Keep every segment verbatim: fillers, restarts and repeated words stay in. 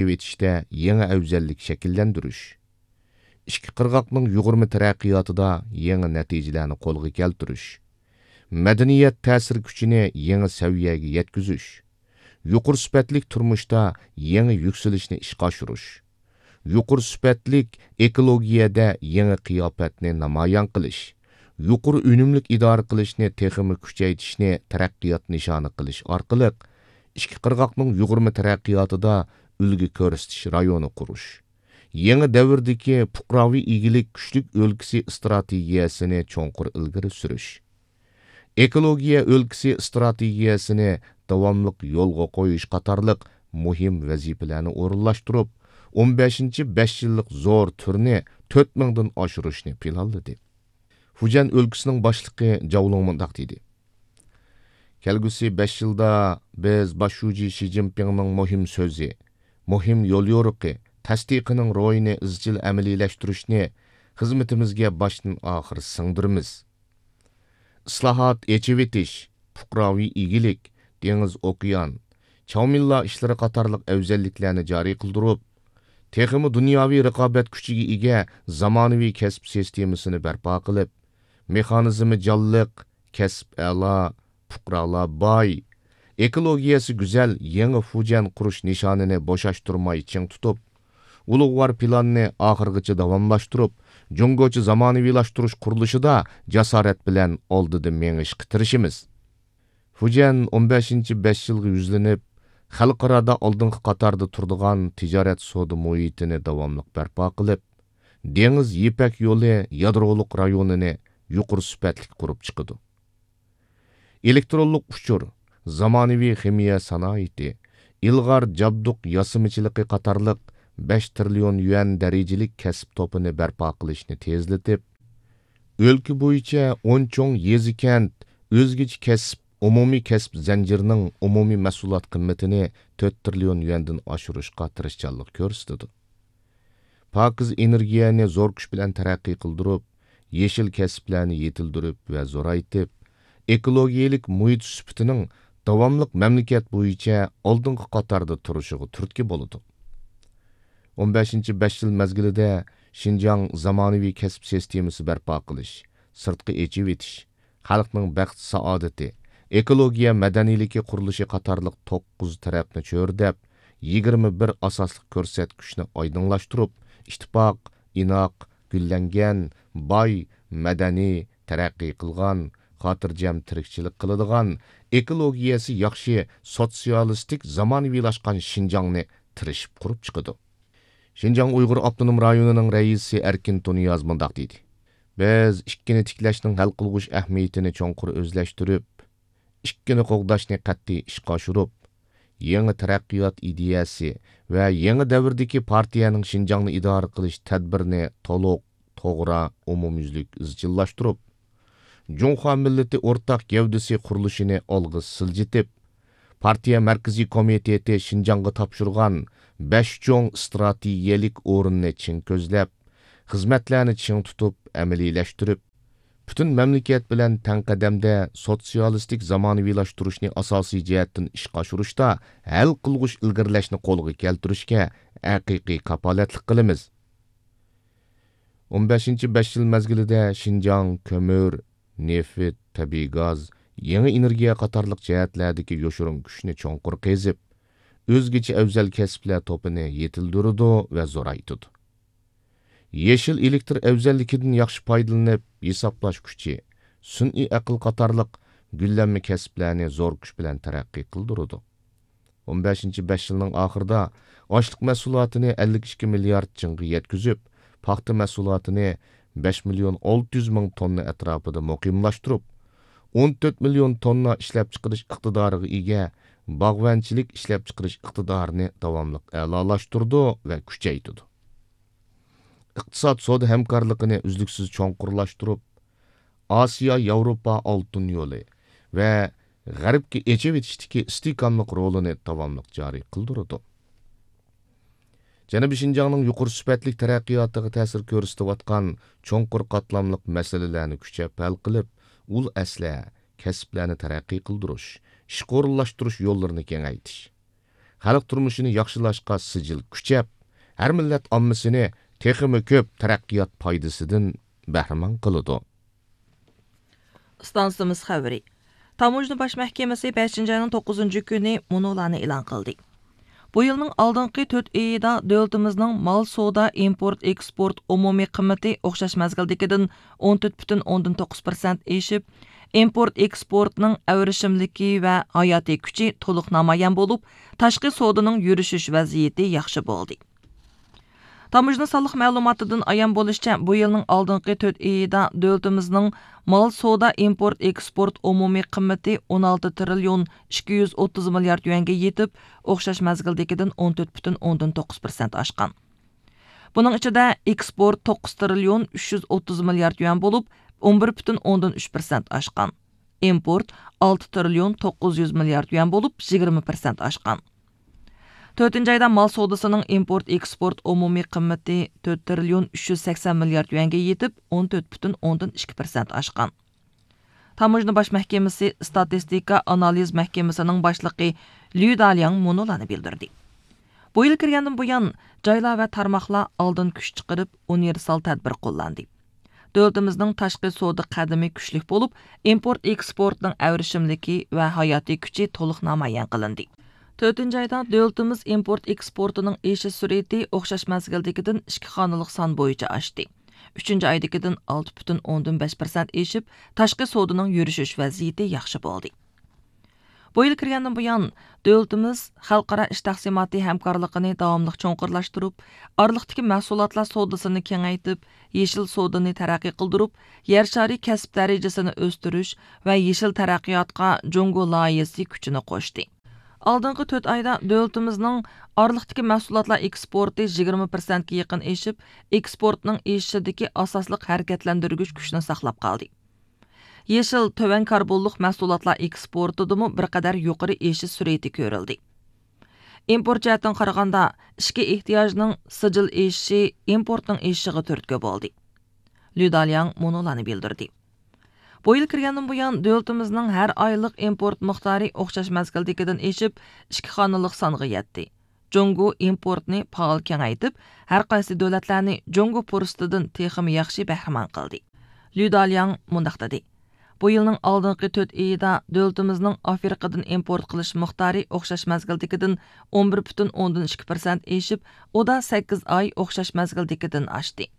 ئېچىۋېتىشتە يېڭى ئەۋزەللىك شەكىللەندۈرۈش، ئىككى قىرغاقنىڭ يۇغۇرما تەرەققىياتىدا يېڭى نەتىجىلەرنى قولغا كەلتۈرۈش، مەدەنىيەت تەسىر كۈچىنى يېڭى سەۋىيەگە يەتكۈزۈش، يۇقىرى سۈپەتلىك تۇرمۇشتا يېڭى يۈكسىلىشنى ئىشقا ئاشۇرۇش، يۇقىرى سۈپەتلىك ئېكولوگىيەدە يېڭى قىياپەتنى نامايان قىلىش، يۇقىرى ئۈنۈملۈك ئىدارە قىلىشنى تېخىمۇ كۈچەيتىشنى تەرەققىيات نىشانى قىلىش ئارقىلىق، ئىككى قىرغاقنىڭ يۇغۇرما تەرەققىياتىدا ئۈلگە كۆرسىتىش رايونى قۇرۇش، يېڭى دەۋردىكى پۇقراۋى ئىگىلىك كۈچلۈك ئۆلكىسى ئىستراتېگىيەسىنى چوڭقۇر ئىلگىرى سۈرۈش، ئېكولوگىيە ئۆلكىسى ئىستراتېگىيەسىنى داۋاملىق يولغا قويۇش قاتارلىق مۇھىم ۋەزىپىلەرنى ئورۇنلاشتۇرۇپ، ئون بەشىنچى بەش يىللىق زور تۈرنى تۆت مىڭدىن ئاشۇرۇشنى پىلانلىدى. فۇجيەن ئۆلكىسىنىڭ باشلىقى جاۋ لۇڭ مۇنداق دېدى: كەلگۈسى بەش يىلدا بىز باش شۇجى شى جىنپىڭنىڭ مۇھىم سۆزى، مۇھىم يوليورۇقى، تەستىقىنىڭ روھىنى ئىزچىل ئەمەلىيلەشتۈرۈشنى خىزمىتىمىزگە باشتىن ئاخىر سىڭدۈرىمىز. ئىسلاھات، ئېچىۋېتىش، پۇقراۋى ئىگىلىك، دېڭىز، ئوكيان، چاۋمىنلا ئىشلىرى قاتارلىق ئەۋزەللىكلەرنى جارى قىلدۇرۇپ، تېخىمۇ دۇنياۋى رىقابەت كۈچىگە ئىگە زامانىۋى كەسىپ سىستېمىسىنى بەرپا قىلىپ، مېخانىزمى جانلىق، كەسىپ ئەلا، پۇقرالار باي، ئېكولوگىيەسى گۈزەل يېڭى فۇجيەن قۇرۇش نىشانىنى بوشاشتۇرماي چىڭ تۇتۇپ، ئۇلۇغۋار پىلاننى ئاخىرغىچە داۋاملاشتۇرۇپ، جۇڭگوچە زامانىۋىلاشتۇرۇش قۇرۇلۇشىدا جاسارەت بىلەن ئالدىدا مېڭىشقا تىرىشىمىز. فۇجيەن ئون بەشىنچى بەش يىلغا يۈزلىنىپ، خەلقئارادا ئالدىنقى قاتاردا تۇرىدىغان تىجارەت سودا مۇھىتىنى داۋاملىق بەرپا قىلىپ، دېڭىز يىپەك يولى يادرولۇق رايونىنى يۇقىرى سۈپەتلىك قۇرۇپ چىقىدۇ. ئېلېكترونلۇق ئۇچۇر، زامانىۋى خىمىيە سانائىتى، ئىلغار جابدۇق ياسىمىچىلىقى قاتارلىق بەش تىرىليون يۈەن دەرىجىلىك كەسىپ توپىنى بەرپا قىلىشنى تېزلىتىپ، ئۆلكە بويىچە ئون چوڭ يېزا، كەنت، ئۆزگىچە كەسىپ، ئومۇمىي كەسىپ زەنجىرىنىڭ ئومۇمىي مەھسۇلات قىممىتىنى تۆت تىرىليون يۈەندىن ئاشۇرۇشقا تىرىشچانلىق كۆرسىتىدۇ. پاكىز ئېنېرگىيەنى زور كۈچ بىلەن تەرەققىي قىلدۇرۇپ، يېشىل كەسىپلەرنى يېتىلدۈرۈپ ۋە زورايتىپ، ئېكولوگىيەلىك مۇھىت سۈپىتىنىڭ داۋاملىق مەملىكەت بويىچە ئالدىنقى قاتاردا تۇرۇشىغا تۈرتكە بولىدۇ. ئون بەشىنچى بەش يىل مەزگىلىدە شىنجاڭ زامانىۋى كەسىپ سىستېمىسى بەرپا قىلىش، سىرتقا ئېچىۋېتىش، خەلقنىڭ بەخت-سائادىتى، ئېكولوگىيە مەدەنىيلىكى قۇرۇلۇشى قاتارلىق توققۇز تەرەپنى چۆرىدەپ، يىگىرمە بىر ئاساسلىق كۆرسەتكۈچنى ئايدىڭلاشتۇرۇپ، ئىتتىپاق، ئىناق، گۈللەنگەن، باي، مەدەنىي، تەرەققىي قىلغان، خاتىرجەم تىرىكچىلىك قىلىدىغان، ئېكولوگىيەسى ياخشى، سوتسىيالىستىك، زامانىۋىلاشقان شىنجاڭنى تىرىشىپ قۇرۇپ چىقىدۇ. شىنجاڭ ئۇيغۇر ئاپتونوم رايونىنىڭ رەئىسى ئەركىن تۇنىياز مۇنداق دېدى: بىز ئىككىنى تىكلەشنىڭ ھەل قىلغۇچ ئەھمىيىتىنى چوڭقۇر ئۆزلەشتۈرۈپ، ئىككىنى قوغداشنى قەتئىي ئىشقا ئاشۇرۇپ، يېڭى تەرەققىيات ئىدىيەسى ۋە يېڭى دەۋردىكى پارتىيەنىڭ شىنجاڭنى ئىدارە قىلىش تەدبىرىنى تولۇق، توغرا، ئومۇميۈزلۈك ئىزچىللاشتۇرۇپ، جۇڭخۇا مىللىتى ئورتاق گەۋدىسى قۇرۇلۇشىنى ئالغا سىلجىتىپ، پارتىيە مەركىزىي كومىتېتى شىنجاڭغا تاپشۇرغان بەش چوڭ ئىستراتېگىيەلىك ئورۇننى چىڭ كۆزلەپ، خىزمەتلەرنى چىڭ تۇتۇپ ئەمەلىيلەشتۈرۈپ، پۈتۈن مەملىكەت بىلەن تەڭ قەدەمدە سوتسىيالىستىك زامانىۋىلاشتۇرۇشنى ئاساسىي جەھەتتىن ئىشقا ئاشۇرۇشتا ھەل قىلغۇچ ئىلگىرىلەشنى قولغا كەلتۈرۈشكە ھەقىقىي كاپالەتلىك قىلىمىز. ئون بەشىنچى بەش يىل مەزگىلىدە شىنجاڭ كۆمۈر، نېفىت، تەبىئىي گاز، يېڭى ئېنېرگىيە قاتارلىق جەھەتلەردىكى يوشۇرۇن كۈچنى چوڭقۇر قېزىپ، ئۆزگىچە ئەۋزەل كەسىپلەر توپىنى يېتىلدۈرىدۇ ۋە زورايتىدۇ. يېشىل ئېلېكتر ئەۋزەللىكىدىن ياخشى پايدىلىنىپ، ھېسابلاش كۈچى، سۈنئىي ئەقىل قاتارلىق گۈللەنمە كەسىپلەرنى زور كۈچ بىلەن تەرەققىي قىلدۇرىدۇ. ئون بەشىنچى بەش يىلنىڭ ئاخىرىدا ئاشلىق مەھسۇلاتىنى ئەللىك ئىككى مىليارد چىڭغا يەتكۈزۈپ، پاختا مەھسۇلاتىنى بەش مىليون ئالتە يۈز مىڭ توننا ئەتراپىدا مۇقىملاشتۇرۇپ، ئون تۆت مىليون توننا ئىشلەپچىقىرىش ئىقتىدارىغا ئىگە باغۋەنچىلىك ئىشلەپچىقىرىش ئىقتىدارىنى داۋاملىق ئەلالاشتۇرىدۇ ۋە كۈچەيتىدۇ. ئىقتىساد سودا ھەمكارلىقىنى ئۈزلۈكسىز چوڭقۇرلاشتۇرۇپ، ئاسىيا ياۋروپا ئالتۇن يولى ۋە غەربكە ئېچىۋېتىشتىكى ئىستىھكاملىق رولىنى داۋاملىق جارى قىلدۇرىدۇ. جەنۇبىي شىنجاڭنىڭ يۇقىرى سۈپەتلىك تەرەققىياتىغا تەسىر كۆرسىتىۋاتقان چوڭقۇر قاتلاملىق مەسىلىلەرنى كۈچەپ ھەل قىلىپ، ئۇل ئەسلىھە، كەسىپلەرنى تەرەققىي قىلدۇرۇش، ئىشقا ئورۇنلاشتۇرۇش يوللىرىنى كېڭەيتىش، خەلق تۇرمۇشىنى ياخشىلاشقا سىجىل كۈچەپ، ھەر مىللەت ئاممىسىنى تېخىمۇ كۆپ تەرەققىيات پايدىسىدىن بەھرىمەن قىلىدۇ. ئىستانسىمىز خەۋىرى. تاموژنا باش مەھكىمىسى بەشىنچى ئاينىڭ توققۇزىنچى كۈنى مۇنۇلارنى ئېلان قىلدى. بۇ يىلنىڭ ئالدىنقى تۆت ئېيىدا دۆلىتىمىزنىڭ مال سودا ئىمپورت ئېكسپورت ئومۇمىي قىممىتى ئوخشاش مەزگىلدىكىدىن ئون تۆت پۈتۈن ئوندىن توققۇز پىرسەنت ئېشىپ، ئىمپورت ئېكسپورتنىڭ ئەۋرىشىملىكى ۋە ھاياتىي كۈچى تولۇق نامايان بولۇپ، تاشقى سودىنىڭ يۈرۈشۈش ۋەزىيىتى ياخشى بولدى. تاموژنا سانلىق مەلۇماتىدىن ئايان بولۇشىچە، بۇ يىلنىڭ ئالدىنقى تۆت ئېيىدا دۆلىتىمىزنىڭ مال سودا ئىمپورت ئېكسپورت ئومۇمىي قىممىتى ئون ئالتە تىرىليون ئىككى يۈز ئوتتۇز مىليارد يۈەنگە يېتىپ، ئوخشاش مەزگىلدىكىدىن ئون تۆت پۈتۈن ئوندىن توققۇز پىرسەنت ئاشقان. بۇنىڭ ئىچىدە ئېكسپورت توققۇز تىرىليون ئۈچ يۈز ئوتتۇز مىليارد يۈەن بولۇپ، ئون بىر پۈتۈن ئوندىن ئۈچ پىرسەنت ئاشقان. ئىمپورت ئالتە تىرىليون توققۇز يۈز مىليارد يۈەن بولۇپ، يىگىرمە پىرسەنت ئاشقان. تۆتىنچى ئايدا مال سودىسىنىڭ ئىمپورت ئېكسپورت ئومۇمىي قىممىتى تۆت تىرىليون ئۈچ يۈز سەكسەن مىليارد يۈەنگە يېتىپ، ئون تۆت پۈتۈن ئوندىن ئىككى پىرسەنت ئاشقان. تاموژنا باش مەھكىمىسى ئىستاتىستىكا ئانالىز مەھكىمىسىنىڭ باشلىقى ليۇ دالياڭ مۇنۇلارنى بىلدۈردى. بۇ يىل كىرگەندىن بۇيان، جايلار ۋە تارماقلار ئالدىن كۈچ چىقىرىپ، ئۇنىۋېرسال تەدبىر قوللاندى. دۆلىتىمىزنىڭ تاشقى سودا قەدىمى كۈچلۈك بولۇپ، ئىمپورت ئېكسپورتنىڭ ئەۋرىشىملىكى ۋە ھاياتىي كۈچى تولۇق نامايان قىلىندى. تۆتىنچى ئايدا دۆلىتىمىز ئىمپورت ئېكسپورتىنىڭ ئېشىش سۈرئىتى ئوخشاش مەزگىلدىكىدىن ئىككى خانىلىق سان بويىچە ئاشتى. ئۈچىنچى ئايدىكىدىن ئالتە پۈتۈن ئوندىن بەش پىرسەنت ئېشىپ، تاشقى سودىنىڭ يۈرۈشۈش ۋەزىيىتى ياخشى بولدى. بۇ يىل كىرگەندىن بۇيان، دۆلىتىمىز خەلقئارا ئىش تەقسىماتى ھەمكارلىقىنى داۋاملىق چوڭقۇرلاشتۇرۇپ، ئارىلىقتىكى مەھسۇلاتلار سودىسىنى كېڭەيتىپ، يېشىل سودىنى تەرەققىي قىلدۇرۇپ، يەر شارى كەسىپ دەرىجىسىنى ئۆستۈرۈش ۋە يېشىل تەرەققىياتقا جۇڭگو لايىھەسى كۈچىنى قوشتى. ئالدىنقى تۆت ئايدا دۆلىتىمىزنىڭ ئارىلىقتىكى مەھسۇلاتلار ئېكسپورتى يىگىرمە پىرسەنتكە يېقىن ئېشىپ، ئېكسپورتنىڭ ئېشىشىدىكى ئاساسلىق ھەرىكەتلەندۈرگۈچ كۈچنى ساقلاپ قالدى. يېشىل تۆۋەن كاربونلۇق مەھسۇلاتلار ئېكسپورتىدىمۇ بىر قەدەر يۇقىرى ئېشىش سۈرئىتى كۆرۈلدى. ئىمپورت جەھەتتىن قارىغاندا، ئىچكى ئېھتىياجنىڭ سىجىل ئېشىشى ئىمپورتنىڭ ئېشىشىغا تۈرتكە بولدى. ليۇ دالياڭ مۇنۇلارنى بىلدۈردى. بۇ يىل كىرگەندىن بۇيان، دۆلىتىمىزنىڭ ھەر ئايلىق ئىمپورت مىقدارى ئوخشاش مەزگىلدىكىدىن ئېشىپ، ئىككى خانىلىق سانغا يەتتى. جۇڭگو ئىمپورتنى پائال كېڭەيتىپ، ھەر قايسى دۆلەتلەرنى جۇڭگو پۇرسىتىدىن تېخىمۇ ياخشى بەھرىمەن قىلدى. ليۇ دالياڭ مۇنداق دېدى: بۇ يىلنىڭ ئالدىنقى تۆت ئېيىدا دۆلىتىمىزنىڭ ئافرىقىدىن ئىمپورت قىلىش مىقدارى ئوخشاش مەزگىلدىكىدىن ئون بىر پۈتۈن ئوندىن ئىككى پىرسەنت ئېشىپ، ئۇ دا سەككىز ئاي ئوخشاش مەزگىلدىكىدىن ئاشتى.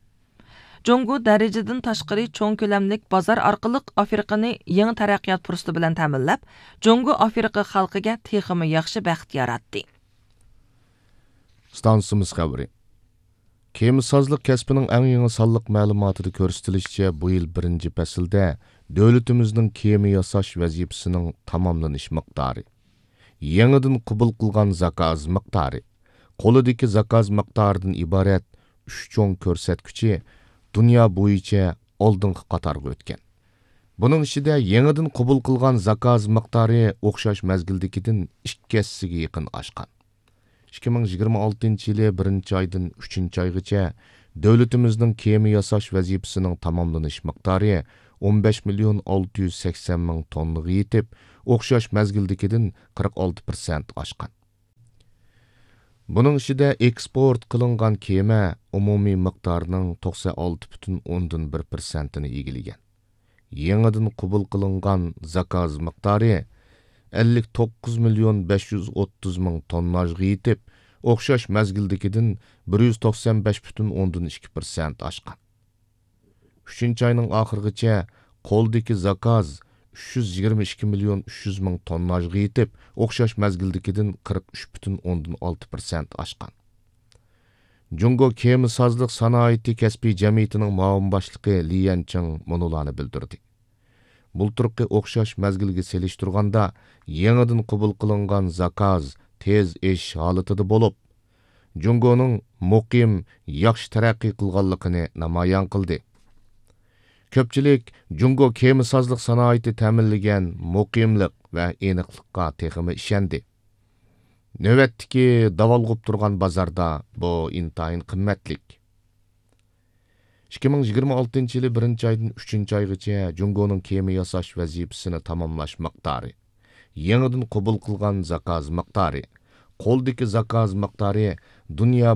جۇڭگو دەرىجىدىن تاشقىرى چوڭ كۆلەملىك بازار ئارقىلىق ئافرىقىنى يېڭى تەرەققىيات پۇرسىتى بىلەن تەمىنلەپ، جۇڭگو ئافرىقا خەلقىگە تېخىمۇ ياخشى بەخت ياراتتى. ئىستانسىمىز خەۋىرى. كېمىسازلىق كەسپىنىڭ ئەڭ يېڭى سانلىق مەلۇماتىدا كۆرسىتىلىشىچە، بۇ يىل بىرىنچى پەسىلدە دۆلىتىمىزنىڭ كېمە ياساش ۋەزىپىسىنىڭ تاماملىنىش مىقدارى، يېڭىدىن قوبۇل قىلغان زاكاز مىقدارى، قولىدىكى زاكاز مىقدارىدىن ئىبارەت ئۈچ چوڭ كۆرسەتكۈچى دۇنيا بويىچە ئالدىنقى قاتارغا ئۆتكەن. بۇنىڭ ئىچىدە يېڭىدىن قوبۇل قىلغان زاكاز مىقدارى ئوخشاش مەزگىلدىكىدىن ئىككى ھەسسىگە يېقىن ئاشقان. ئىككى مىڭ يىگىرمە ئالتىنچى يىلى بىرىنچى ئايدىن ئۈچىنچى ئايغىچە دۆلىتىمىزنىڭ كېمە ياساش ۋەزىپىسىنىڭ تاماملىنىش مىقدارى ئون بەش مىليون ئالتە يۈز سەكسەن مىڭ توننىغا يېتىپ، ئوخشاش مەزگىلدىكىدىن قىرىق ئالتە پىرسەنت ئاشقان. بۇنىڭ ئىچىدە ئېكسپورت قىلىنغان كېمە ئومۇمىي مىقدارىنىڭ توقسەن ئالتە پۈتۈن ئوندىن بىر پىرسەنتىنى ئىگىلىگەن. يېڭىدىن قوبۇل قىلىنغان زاكاز مىقدارى ئەللىك توققۇز مىليون بەش يۈز ئوتتۇز مىڭ تونناژغا يېتىپ، ئوخشاش مەزگىلدىكىدىن بىر يۈز توقسەن بەش پۈتۈن ئوندىن ئىككى پىرسەنت ئاشقان. ئۈچىنچى ئاينىڭ ئاخىرىغىچە قولدىكى زاكاز ئۈچ يۈز يىگىرمە ئىككى مىليون ئۈچ يۈز مىڭ تونناژغا يېتىپ، ئوخشاش مەزگىلدىكىدىن قىرىق ئۈچ پۈتۈن ئوندىن ئالتە پىرسەنت ئاشقان. جۇڭگو كېمىسازلىق سانائىتى كەسپىي جەمئىيىتىنىڭ مۇئاۋىن باشلىقى لى يەنچىڭ مۇنۇلارنى بىلدۈردى. بۇلتۇرقى ئوخشاش مەزگىلگە سېلىشتۇرغاندا، يېڭىدىن قوبۇل قىلىنغان زاكاز تېز ئېشىش ھالىتىدە بولۇپ، جۇڭگونىڭ مۇقىم، ياخشى تەرەققىي قىلغانلىقىنى نامايان قىلدى. كۆپچىلىك جۇڭگو كېمىسازلىق سانائىتى تەمىنلىگەن مۇقىملىق ۋە ئېنىقلىققا تېخىمۇ ئىشەندى. نۆۋەتتىكى داۋالغۇپ تۇرغان بازاردا بۇ ئىنتايىن قىممەتلىك. ئىككى مىڭ يىگىرمە ئالتىنچى يىلى بىرىنچى ئايدىن ئۈچىنچى ئايغىچە جۇڭگونىڭ كېمە ياساش ۋەزىپىسىنى تاماملاش مىقدارى، يېڭىدىن قوبۇل قىلغان زاكاز مىقدارى، قولدىكى زاكاز مىقدارى دۇنيا